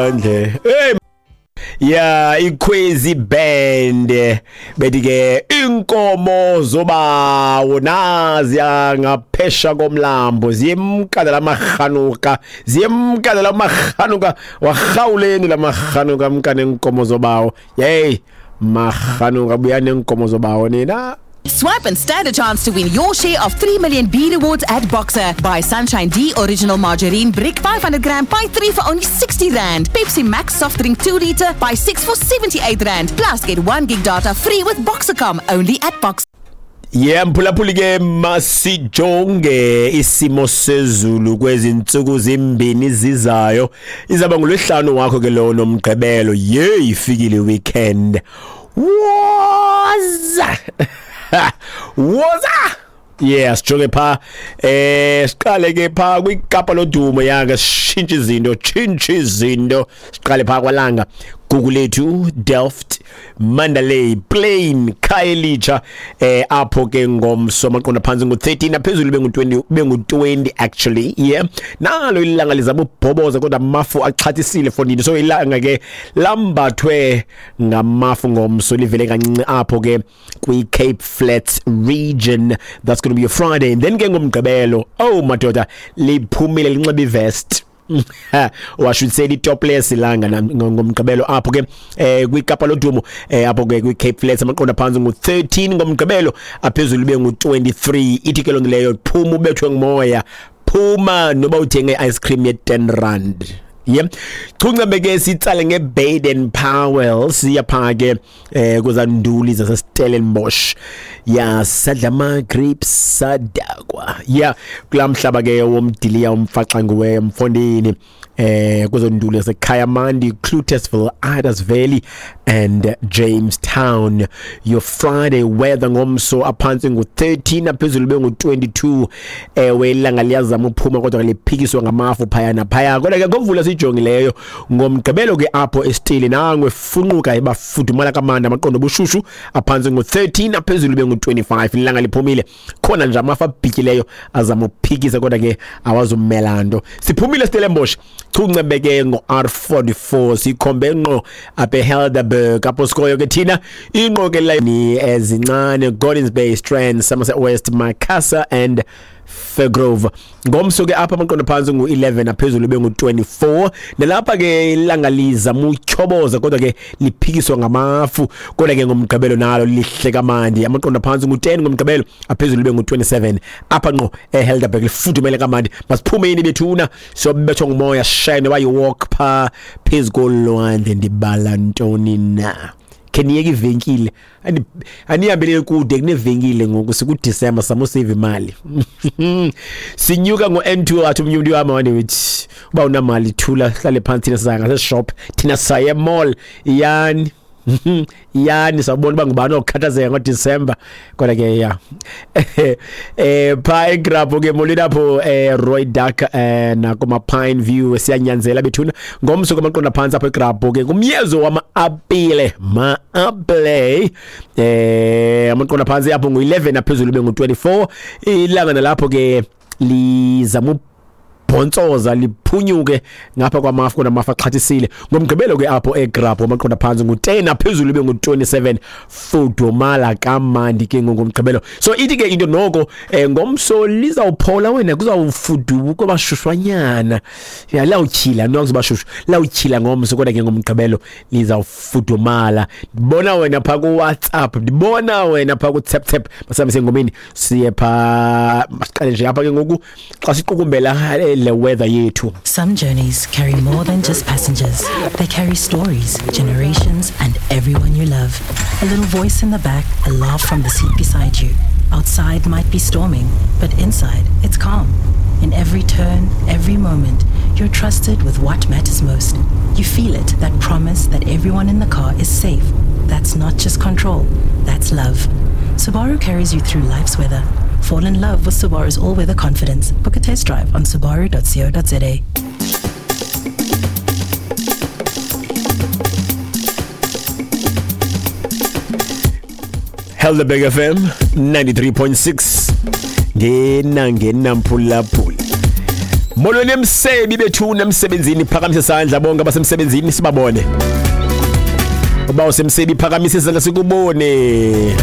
Lwandle. Hey ya iKhwezi Band bethi ke inkomo zobawo naziya ngaphesha komlambo ziyemka lamarhanuka, ziyemka lamarhanuka, warhawuleni lamarhanuka mka nenkomo zobawo. Hey marhanuka, buya nenkomo zobawo nina. Swipe and stand a chance to win your share of 3 million B rewards at Boxer. Buy Sunshine D Original Margarine Brick 500 gram, buy 3 for only 60 Rand. Pepsi Max Soft Drink 2 liter, buy 6 for 78 Rand. Plus get 1 gig data free with Boxercom only at Boxer. Yeah, mphulaphuli ke, masijonge isimo sezulu kwezi ntsuku zimbini zizayo. Izaba ngolwesihlanu wakho ke lo nomgqibelo. Yeyi, ifikile weekend. Woza woza. Yeah, sijonge pha, siqale ke pha kwiKapa lodumo yake, sishintshe izinto, tshintshe izinto. Siqale pha kwaLanga, Gugulethu, Delft, Mandalay, Plain, Khayelitsha, apho ke ngomso amaqondo phantsi ngo-13, aphezulu bengu-20, bengu-20 actually. Yeah, nalo ilanga lizama ubhoboza kodwa amafu axhathisile fondini, so ilanga ke lambathwe ngamafu ngomso, livele kancinci apho ke kwi-Cape Flats region. That's going to be a Friday. And then ke ngomgqibelo, oh madoda, liphumile linxiba ivest, washo say topless ilanga ngomgqibelo apho ke kwiKapa lodumo, apho ke kwi-Cape Flats amaqondo phantsi ngu-13 ngomgqibelo, aphezulu bengu-23. Ithi ke loo nto leyo, phuma ubethwe ngumoya, phuma noba uthenge ice cream ye-10 rand. Yep. Chungcembe ke sitsale ngeBaden Powell, siya pha ke kwezanduli zaseStellenbosch. Ya, sadla ama grapes sadakwa. Ya, kulaa mhlaba ke womdiliya umfaxanguwe mfondini, kwezonduli zaseKayamandi, Cloetesville, Idas Valley and Jamestown. Your Friday weather ngomso, aphantsi ngu-13, aphezulu bengu-22. Ewe, ilanga liyazama uphuma kodwa liphikiswa ngamafu phaya naphaya, kodwa ke ngomvula siyijongileyo ngomgqibelo ke apho esitili nangwe funquka ibafudumala kamandi, amaqondo obushushu aphantsi ngu-13, aphezulu bengu-25. Ilanga liphumile khona nje, amafu abhityileyo azama ukuphikisa kodwa ke awazumela nto. Siphumile Stellenbosch, chuncembe ke ngo-R44, sikhombe ngqo apha eHelderberg apho sikoyo ke thina, ingqokelela ni ezincane, Gordons Bay, Strand, Somerset West, Macassar and Fairgrove. Ngomso ke apha amaqondo phantsi ngu-11, aphezulu bengu-24. Nalapha ke ilanga lizama utyhoboza kodwa ke liphikiswa ngamafu, kodwa ke ngomgqibelo nalo lihle kamandi, amaqondo phantsi ngu-10 ngomgqibelo, aphezulu bengu-27. Apha ngqo eHelderberg lifudumele kamandi. Masiphumeni bethuna, siyobethwa ngumoya, shine wayi-walk pha phezu kolwandle. Ndibala ntoni na? Khe niyeke ivenkile, anihambelele kude kunevenkile ngoku, sikuDisemba, samusave imali. Sinyuka ngo-N2, athi omnye umntu wam wandithi uba unamali thula, hlale phantsi, thina siza ngaseshop, thina sisaye emall. Yani yani sawubona uba ngubani okhathazeka ngoDisemba. Kodwa ke ya, pha eGrabho ke, molweni apho Roy Duck nakuma Pine View, siyanyanzela bethuna. Ngomso kwamaqonda phantsi apho eGrabho ke ngumyezo wama-apile, ma-apple, amaqonda phantsi apho ngu-11, aphezulu bengu-24. Ilanga nalapho ke lizama bhontsoza liphunyuke ngapha kwamafu, kodwa amafu axhathisile. Ngomgqibelo ke apho eGrabho amaqonda phantsi ngu-10, aphezulu bengu-27. Fudumala kamandi ke ngomgqibelo. So ithi ke into noko, ngomso lizawuphola wena, kuzawufuduka bashushwanyana, ya lawutyhila no kuzobashushu, lawutyhila ngomso, kodwa ke ngomgqibelo lizawufudumala. Ndibona wena pha ku-WhatsApp, ndibona wena pha ku-tap tap. Masihambe sengomeni, siye pha, masiqale nje apha ke ngoku xa siqukumbela le weather yethu. Some journeys carry more than just passengers. They carry stories, generations, and everyone you love. A little voice in the back, a laugh from the seat beside you. Outside might be storming, but inside it's calm. In every turn, every moment, you're trusted with what matters most. You feel it, that promise that everyone in the car is safe. That's not just control, that's love. Subaru carries you through life's weather. Fall in love with Subaru's all-weather confidence. Book a test drive on subaru.co.za. Helderberg FM 93.6, ngena ngena mphulaphula. Molweni emsebi bethu nemsebenzini, phakamise isandla bonke abasemsebenzini sibabone. Uba usemsebi, phakamise isandla sikubone.